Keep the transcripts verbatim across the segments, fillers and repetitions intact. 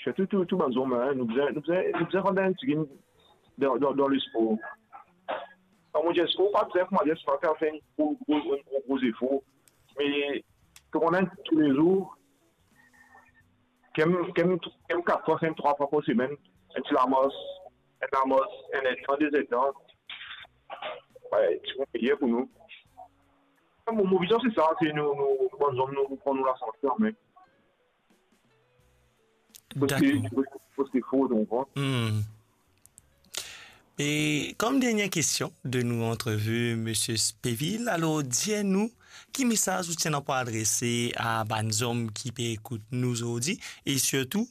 Sirtou tou, tou bann zom, hein, nou bizin, nou bizin, nou bizin rann enn tigit dan, dan, dan lespor. Kan mo dir lespor, pa bizin, kouma dir, pa fer enn gro, gro, enn gro, gro zefor. Me, tou rann toulezour, kem, kem, kem kat fwa, kem trwa fwa par semenn, enn ti lamars, enn lamars, enn edtan, de edtan. Wi, ti pou meyer pou nou. Mo, mo vizion se sa, se nou, nou, nou bann zom, nou, nou pran nou lasante anmen. Dakor. Pou se, pou se fo, donk, hein. Hmm. E kom dernie kestion de nou antrevi, Misie Spevil, alor, dir nou, ki mesaz ou ti ena pou adrese a bann zom ki pe ekout nou zordi, e sirtou,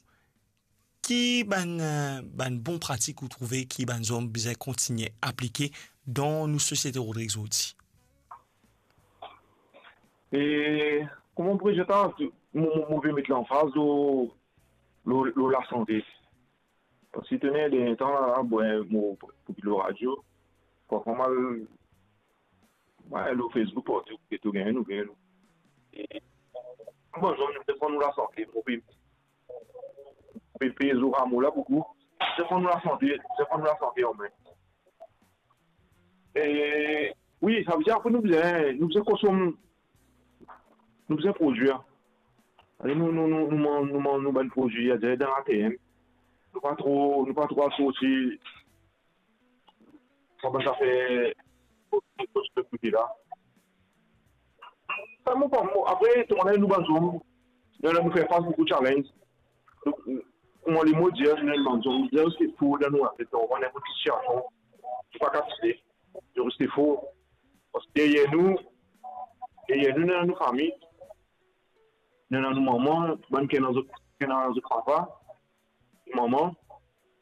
ki bann, eh, bann bon pratik ou trouve ki bann zom bizin kontigne aplike dan nou sosiete Rodrig zordi? E kouma mo pou dir sa, mo, mo, mo pe met lanfaz lor, lor, lor lasante. Parski to ena dernie tan la, bon, mo pou, pou lor radio, parfwa mo al, mo al lor Facebook, partou, e to gagn nouvel. E, bon, zom, nou defann nou lasante, mo pe, pe, pe zour a mo la boukou. Defann nou lasante, defann nou lasante anmen. E, wi, savedir apre nou bizin, nou bizin konsom, nou bizin prodwir. Ale, nou, nou, nou, nou manz, nou manz nou bann prodwi, adir dan later, hein. Nou pa tro, nou pa tro al sorti, sa bann zafer, kote la. Sa, mo pa, mo, apre, tou bann nou bann zom, nou, nou fer fas boukou challenge. Donk, kouma mo dir, nou bann zom, nou bizin reste for dan nou latet, dan nenport ki sitiasion, nou pa kapav tire, nou reste for. Parski deryer nou, deryer nou, nou ena nou fami, nou ena nou mama, bann ki ena zot, ki ena zot papa, mama,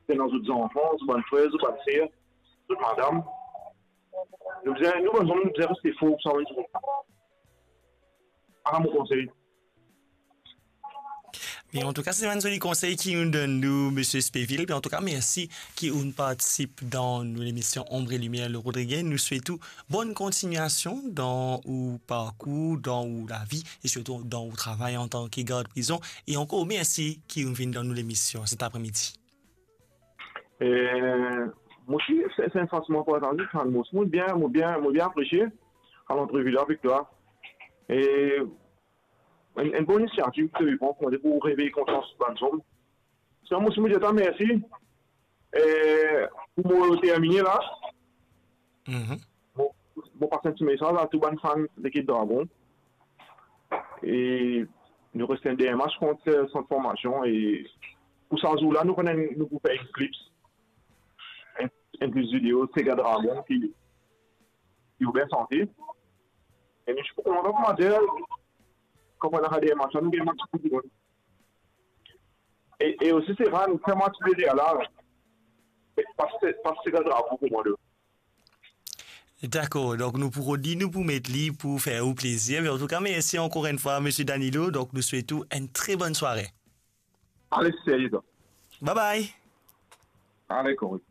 ki ena zot zanfan, zot bann frer, zot bann ser, zot madam. Nou bizin, nou bann zom, nou bizin reste for pou sa bann dimoun. Ala mo konsey. Me antouka, se bann zoli konsey ki ou'nn donn nou, Misie Spevil. Me antouka, mersi ki ou'nn partisip dan nou lemision Ombre et Lumière, le Rodriguien. Nou swet ou bonn kontignasion dan ou parkour, dan ou lavi e sirtou dan ou travay antan ki gard prizon. E ankor mersi ki ou'nn vinn dan nou lemision set apremidi. E, mo osi, se, se enn fas mo partaze, mo osi, mo bien, mo bien, mo bien apresie sa lantrevi la avek twa. E enn, enn bon inisiativ ki to pran pou, pou revey konsians bann zom. Sa, mo osi, mo dir twa mersi. E pou mo termine la, Mhm. Mo, mo pas enn ti mesaz a tou bann fan lekip Dragon. E nou reste enn dernie match kont, eh, Sant Formasion. E pou sa zour la, nou konn, nou pou fer enn clips, enn, enn clips video, Sega Dragon ki, ki ou bien sante. E nou ti pou kontan pou manze, kan nou al dernie match la, nou gagn match pou dimoun. E, e osi, se pa, nou fer match de la, pas, pas Sega Dragon pou mwa, de. Dakor, donk nou pou rod li, nou pou met li pou fer ou plezir. Me antouka, mersi ankor enn fwa, Misie Danilo. Donk nou swet ou enn tre bonn sware. Ale, serye, donk. Bye bye. Ale, korik.